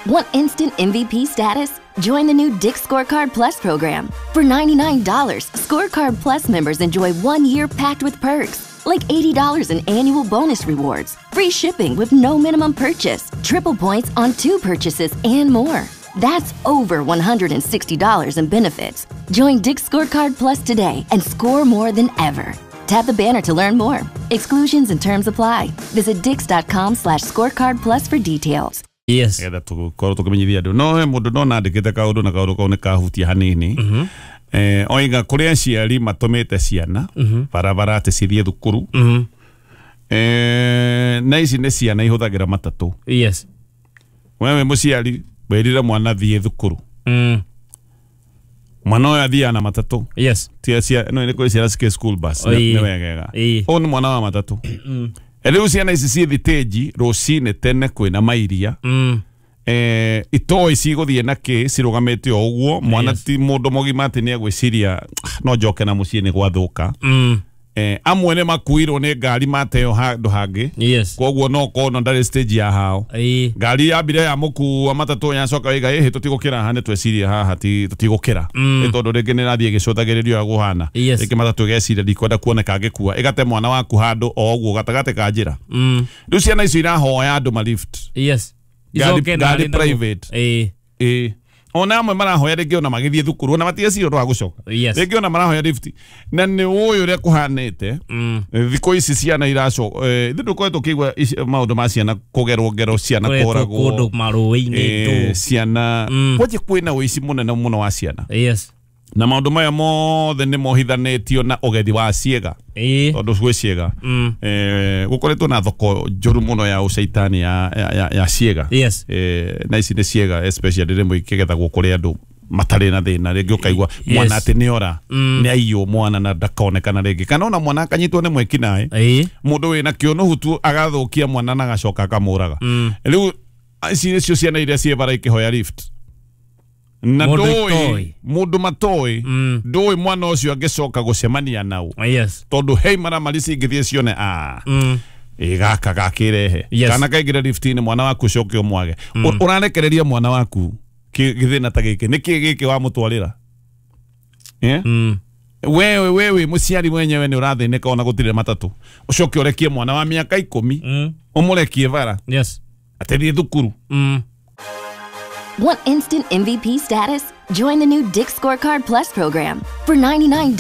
Want instant MVP status? Join the new Dick's Scorecard Plus program. For $99, Scorecard Plus members enjoy 1 year packed with perks, like $80 in annual bonus rewards, free shipping with no minimum purchase, triple points on two purchases, and more. That's over $160 in benefits. Join Dick's Scorecard Plus today and score more than ever. Tap the banner to learn more. Exclusions and terms apply. Visit dicks.com/scorecard plus for details. Getha tũkorwo tũkĩmenyithia andũ no he mũndũ no nandĩkĩte kaũndũ na kaũndũ kau nĩ kahutia hanini. Oiga kũrĩ aciari matũmĩte ciana barabara atĩ cithiĩ thukuru, na ici nĩ ciana ihũthagĩra matatũ. Wewe mũciari wĩrire mwana thiĩ thukuru, mwana ũyũ athiaga na matatũ. Tia cia no nĩ kũrĩ ciana cikĩ school bus. Nĩ wegega. Ũyũ nĩ mwana wa matatũ. Rĩu ciana ici ciĩ thitĩnji rũcinĩ tene kwĩna mairia, itoĩ cigũthiĩ na kĩ cirũgamĩte o ũguo mwana. Ti mũndũ mũgima atĩ nĩ egwĩciria, "Ah, no njoke na mũciĩ nĩ gwathũka." Amwe nĩ makuirwo nĩ ngari mateo handũ hangĩ. Koguo no kono ndarĩ stage ya hao. Ngari yambire ya mũkua matatũ yacoka waiga ĩhĩ tũtigũkĩra haha nĩ tweciria haha ti tũtigũkĩra. Nĩ tondũ rĩngĩ nĩ ĩrathiĩ ĩgĩcũthagĩrĩrio ũrĩa gũhana. Rĩngĩ matatũ ĩgeciria ndikwenda kuoneka ngĩkua ĩgate mwana waku handũ o ũguo gatagatĩ ka njĩra. Rĩu ciana icio irahoya andũ ma lift. Icoke na ngari harĩ naguo. Private. Ĩĩ, ona amwe marahoya rĩngĩ ona magĩthiĩ thukuru ona matieciria ũndũ wa gũcoka. Rĩngĩ ona marahoya lift na nĩ ũĩ ũrĩa kũhanĩte. Thikũ ici ciana iraco ithuĩ ndũkoretwo ũkĩigua maũndũ ma ciana kũgerwo ngero, ciana Kũretwo kũragwo kũndũ marũĩ-inĩ ndũ. Ciana kwanjia kwĩna ũici mũnene mũno wa ciana na maũndũ maya mothe nĩ mohithanĩtio na ũgethi wa ciĩga tondũ gwĩ ciĩga, gũkoretwo na thoko njũru mũno ya ũcaitani ya ciĩga. Na ici nĩ ciĩga especially rĩmwe ikĩgethagwo kũrĩ andũ matarĩ na thĩna, rĩngĩ ũkaigua mwana atĩ nĩ ora, nĩ aiywo mwana na ndakonekana rĩngĩ, kana ona mwana akanyitwo nĩ mwĩkinaĩ, mũndũ wĩna kĩũnũhu tu agathũkia mwana na agacoka akamũraga. Rĩu ici nĩcio ciana iria ciĩ bara ikĩhoya lift na Mũndũ ndũĩ itoĩ. Mũndũ matoĩ, ndũĩ mwana ũcio angĩcoka gũcemania nau, tondũ hei maramari cingĩthiĩ cione a ĩ gaka gakĩrehe kana kaingĩre lift-inĩ mwana waku ũcoke ũmwage. Ũrarekereria mwana waku gĩthĩna ta gĩkĩ nĩkĩ gĩkĩ wamũtwarĩra? Wewe wewe mũciari mwenyewe nĩ ũrathĩnĩka ona gũtirĩ matatũ, ũcoke ũrekie mwana wa mĩaka 10 ũmũrekie bara atĩ thiĩ thukuru. Want instant MVP status? Join the new Dick's Scorecard Plus program. For $99,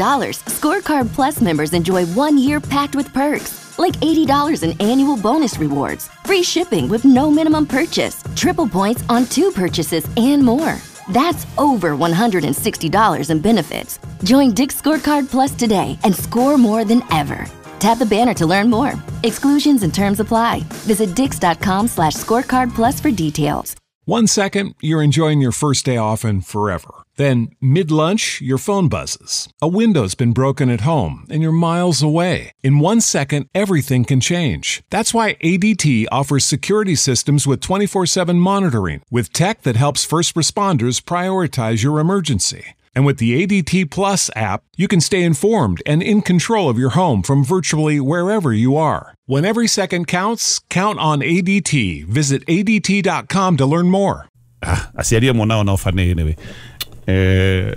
Scorecard Plus members enjoy 1 year packed with perks, like $80 in annual bonus rewards, free shipping with no minimum purchase, triple points on two purchases, and more. That's over $160 in benefits. Join Dick's Scorecard Plus today and score more than ever. Tap the banner to learn more. Exclusions and terms apply. Visit dicks.com/scorecard plus for details. One second, you're enjoying your first day off and forever. Then, mid lunch, your phone buzzes. A window's been broken at home and you're miles away. In 1 second, everything can change. That's why ADT offers security systems with 24/7 monitoring, with tech that helps first responders prioritize your emergency. And with the ADT Plus app, you can stay informed and in control of your home from virtually wherever you are. When every second counts, count on ADT. Visit ADT.com to learn more. Ah, aciari amwe nao no bani anyway.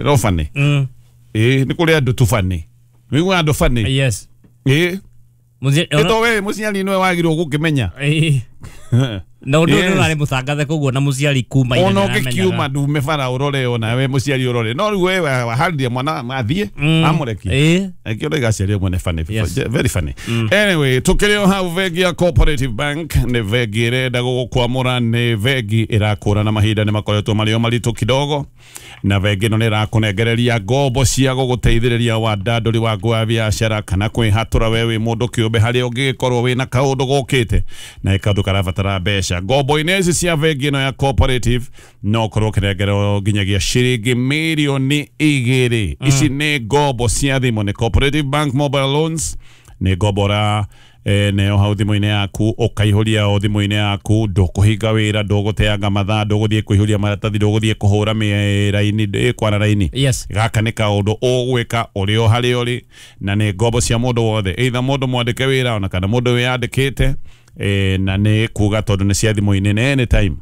No bani ĩ nĩ kũrĩ andũ tu bani wĩigua andũ bani. Ĩ ĩto we mũciari nĩwe wagĩrĩirwo gũkĩmenya. Na ũndũ ũyũ nĩ ũrarĩ mũcangathe koguo na mũciari kuma ona ũngĩkiuma ndume bara ũrore ona we mũciari ũrore no rĩu we waharĩria mwana athiĩ amũrekie. Ĩkĩo ndaiga aciari amwe nĩ funny. Very funny. Anyway, tukĩrĩ o hau, bengi ya Cooperative Bank nĩ bengi ĩrenda gũgũkwamũra, nĩ bengi ĩrakũra na mahinda nĩ makoretwo marĩ o maritũ kidogo, na bengi ĩno nĩ ĩrakũnengereria ngombo cia gũgũteithĩrĩria wandandũri waku wa biacara kana kwĩhatũra we wĩ mũndũ kĩũmbe harĩa ũngĩgĩkorwo wĩna kaũndũ gokĩte na kaũndũ karabatara mbeca. Ngombo-inĩ ici cia bengi ĩno ya Cooperative no ũkorwo ũkĩnengerwo nginyagia ciringi mirioni 2. Ici nĩ ngombo cia thimũ, nĩ Cooperative Bank mobile loans, nĩ ngombo ra neo hau thimũ-inĩ yaku ũkaihũria o thimũ-inĩ yaku, ndũkũhinga wĩra, ndũgũteanga mathaa, ndũgũthiĩ kũihũria maratathi, ndũgũthiĩ kũhũra mĩraini kwara raini. Gaka nĩ kaũndũ ũgwĩka ũrĩ o harĩa ũrĩ na nĩ ngombo cia mũndũ wothe, either mũndũ mwandĩke wĩra ona kana mũndũ wĩyandĩkĩte, na nĩ kuga tondũ nĩ cia thimũ-inĩ na anytime.